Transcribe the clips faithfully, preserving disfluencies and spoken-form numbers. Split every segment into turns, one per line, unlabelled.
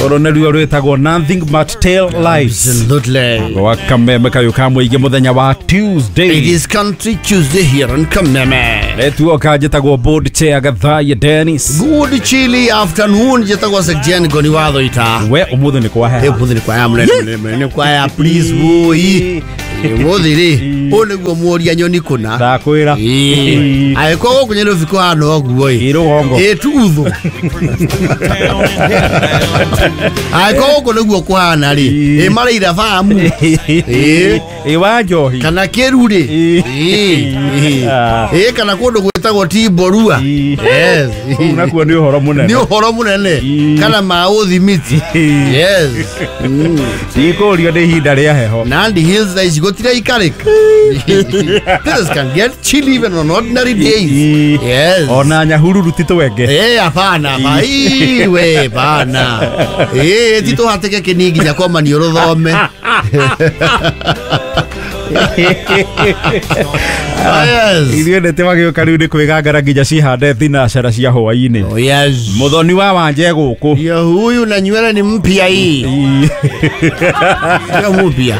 Oro nĩruo rwĩtagwo Nothing But Tail Lights.
Absolutely.
Wa Kameme kayo ka mũingĩ mũthenya wa Tuesday.
It is Country Tuesday here on Kameme.
Netuoka njĩtagwo board chair Gathaiya Dennis.
Good chilly afternoon njĩtagwo Sekjen Ngoni wa Thoita.
We ũmũthĩ nĩ kwaheha.
Ũmũthĩ nĩ kwaheha mũnene nĩ kwaheha please woi. Ũmũthĩ rĩ ũũ nĩguo mũria nyoni kũna.
Ndakwĩra.
Angĩkorwo gũkũ Nairobi kũhana ũguo ĩ.
Ĩ rũgongo.
Ĩ tuthũ. Angĩkorwo gũkũ nĩguo kũhana rĩ ĩ marĩira bamu. Ĩ
ĩ wa njohi.
Kana kĩru rĩ. Ĩ kana kũndũ gwĩtagwo Timborua. Yes.
Kũu nakuo nĩ ũhoro mũnene.
Nĩ ũhoro mũnene. Kana ma ũthimiti. Yes.
Tikũrio nĩ ihinda rĩa heho.
Nandi Hills thaa ici gũtiraikarĩka. This can get chilly even on ordinary days. Yes.
Ona Nyahururu ti twenge.
Eh, hapana, we bana. Eh, ti tũhatĩke kĩni nginya kwa maniũrũ thome. Yes.
Ithuĩ nĩ tĩwagĩũka rĩu nĩ kwĩgangara nginya cihande thinacara cia hwaĩ-inĩ.
Oh, yes.
Mũthoni wa Wanje gũkũ.
Yo huyu na nywele ni mpya hii. Sio mpya.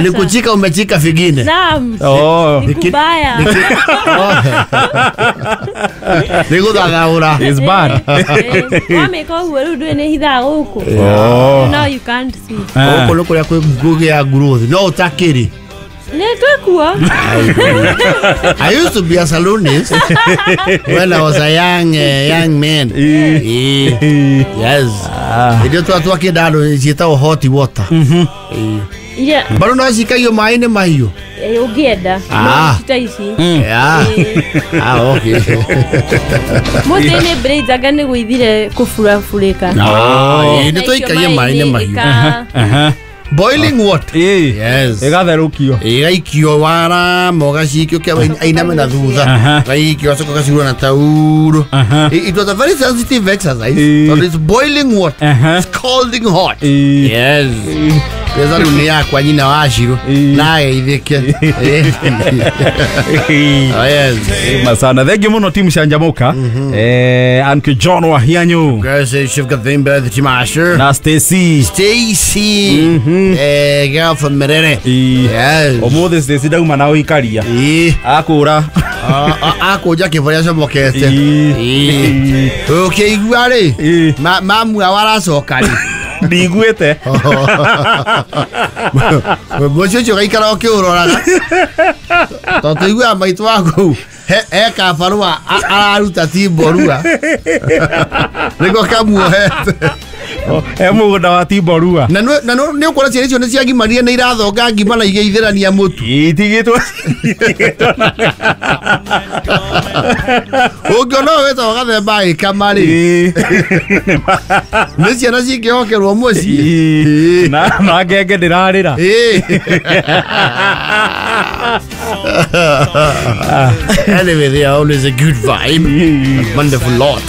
Ni kuchika umechika figine.
Naam.
Oh.
Ni kubaya.
Ni gũthathaũra.
It's bad.
Wamĩka ũguo rĩu ndũĩ nĩ hithaga gũkũ.
Oh.
Now you can't see.
Gũkũ nĩ kũrĩa kwĩ ngũgĩ ya growth. No ũtakĩrĩ.
Nĩ twĩkuo.
I used to be a salonist when I was a young uh, young man. Yes. Ndio twatwakĩenda andũ ciĩtagwo hot water.
Mhm.
Yeah.
Bado no cikaio maĩ-inĩ mahiũ.
Ũngĩenda.
Ah.
No ta ici.
Yeah. Ah, okay.
Mũtĩ nĩ braids anga nĩ gwĩthire kũburaburĩka.
Ah, nĩ tũikagia maĩ-inĩ mahiũ.
Aha.
Boiling water. Yes.
Ĩgatherũkio.
Ĩgaikio wara ũgacikio kĩa ainame na thutha. Gaikio acoka gacurwo na tauro. It was a very sensitive exercise. But it's boiling water. It's scalding hot. Yes. Pesa rĩu nĩ yakwa nyina wa Shiro na geithĩke. Yes.
Masana thank you mũno timu Canjamũka. Eh, Uncle John wa Hianyu.
Grace Chief Gathimba the Timasher.
Na Stacy.
Stacy. Eh, girl from Merere. Yes.
Ũmũthĩ Stacy ndauma na ũikaria. Akũra.
Akũnja kĩbũrĩa acomokete. Ũkĩigua rĩ mamu ao aracoka rĩ.
Ndiguĩte.
Mũciĩ ũcio ũgaikara ũkĩũroraga. Tondũ tũiguaga maitũ waku he kabarũa araruta Timborua. Nĩko kamuohete.
He mũgũnda wa Timborua.
Na nĩ ũkuona ciana icio nĩ ciagimarire nĩ irathonga ngima na igeithĩrania mũtu.
Itigĩtwo.
Ũngĩona ũyũ wĩtagwo Gathemba agĩkama rĩ. Nĩ ciana cingĩhokerwo mũciĩ.
Na na ngenge ndĩrarĩra.
Anyway, they are always a good vibe. A wonderful lot.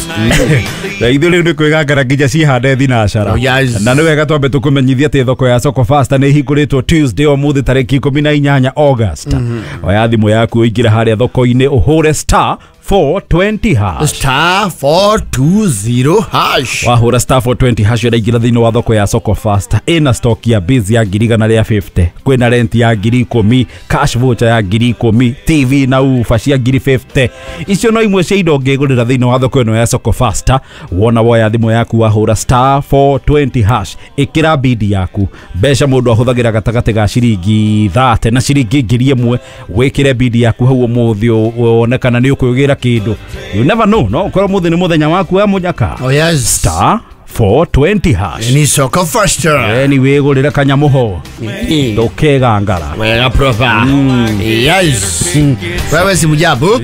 Na ithuĩ rĩu nĩ kwĩgangara nginya cihande thinacara. Na nĩ wega twambe tũkũmenyithia atĩ thoko ya Soko Fasta nĩ ĩhingũrĩtwo Tuesday ũmũthĩ tarĩki ikũmi na inyanya August. Oya thimũ yaku ũingĩre harĩa thoko-inĩ ũhũre star four twenty hash.
Star four two zero hash.
Wahũra star four twenty hash ũraingĩra thĩinĩ wa thoko ya Soko Fasta. Ĩna stock ya biz ya ngiri igana rĩa fifty. Kwĩna rent ya ngiri ikũmi, cash voucher ya ngiri ikũmi, T V na ufa cia ngiri fifty. Icio no imwe cia indo ũngĩgũrĩra thĩinĩ wa thoko ĩno ya Soko Fasta. Wona woya thimũ yaku wahũra star four twenty hash. Ĩkĩra bidi yaku. Mbeca mũndũ ahũthagĩra gatagatĩ ga ciringi thate na ciringi ngiri ĩmwe. Wĩkĩre bidi yaku hau ũmũthĩ wone kana nĩ ũkwĩgĩra kĩndũ. You never know, no? Ũkorwo mũthĩ nĩ mũthenya waku wa mũnyaka.
Oh yes.
Star four twenty hash.
Ni Soko Fasta.
Ni wĩgũrĩre kanyamũho. Ndũkegangara.
Wega proper. Yes. Wewe si mjabu?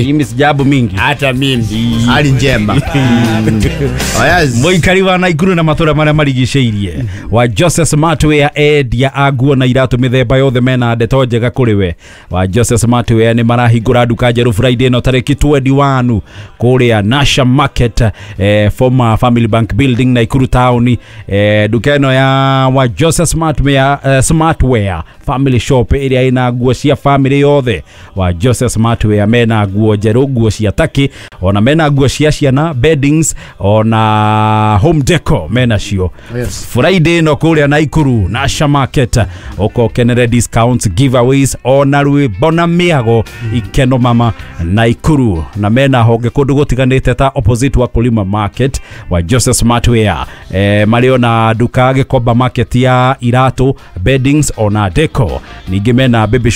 Mimi sijabu mingi.
Hata mimi. Hali njema. Oh yes.
Mũikari wa Naikuru na matũra marĩa marigicĩirie wa Joseph Smartwear endia a nguo na iratũ mĩthemba yothe mena ndeto njega kũrĩ we. Wa Joseph Smartwear nĩ marahingũra nduka njerũ Friday ĩno tarĩki twenty-one kũrĩa Nasha Market, eh, former family Family Bank Building, Naikuru Town. eh, nduka ĩno ya wa Joseph Smartwear, eh, Smartwear Family Shop ĩrĩa ĩna nguo cia family yothe. Wa Joseph Smartwear mena nguo njerũ, nguo cia taki, ona mena nguo cia ciana, beddings, ona home decor mena cio.
Yes.
Friday ĩno kũrĩa Naikuru Nasha Market, ũkokenere discounts, giveaways, ona rwĩmbo na mĩago ikeno mama Naikuru. Na mena honge kũndũ gũtiganĩte ta opposite wa Kulima Market wa Joseph Smartwear. eh, marĩ ona nduka Gĩkomba Market ya iratũ, beddings, ona deco. Ningĩ mena baby shop.